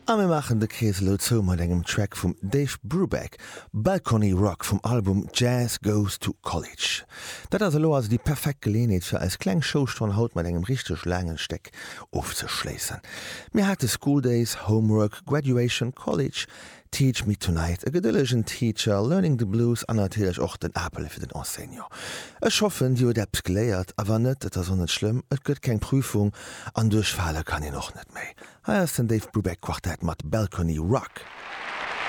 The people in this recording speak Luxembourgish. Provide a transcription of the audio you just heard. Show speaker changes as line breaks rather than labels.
A mir maachen de Krees elo zou mat engem Track vum Dave Brubeck, Balcony Rock vum Album Jazz Goes to College. Dat ass elo also déi perfekt Geleeënheet fir eis kleng Showstonn haut mat engem richteg laangen Stéck ofzeschléissen. Mir hate School Days, Homework, Graduation, College, Teach Me Tonight, e gedëllegen Teacher, Learning the Blues an natierlech och den Apel fir den Enseignant. Ech hoffen dir hutt eppes geléiert a wann net, et ass och net schlëmm, et gëtt keng Prüfung an duerchfale kann een och net méi. Hei ass den Dave Brubeck Quartet mat Balcony Rock.